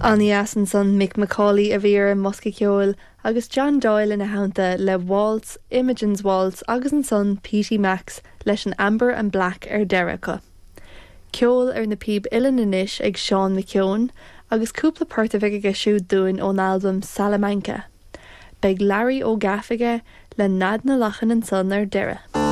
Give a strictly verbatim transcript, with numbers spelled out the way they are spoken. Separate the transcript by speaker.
Speaker 1: An-dheas ansan Mick McCauley a bhí ar an mbosca ceoil agus John Doyle ina theannta le Waltz, Imogen's Waltz agus ansan Petey Max leis an Amber and Black ar deireadh acu. Ceol ar na píob uilleann anois ag Seán McKeown agus cúpla port a bheidh aige siúd dúinn ón albam Salamanca. Beidh Larry Ó Gaff aige le Nead na Lachan ansan ar deireadh.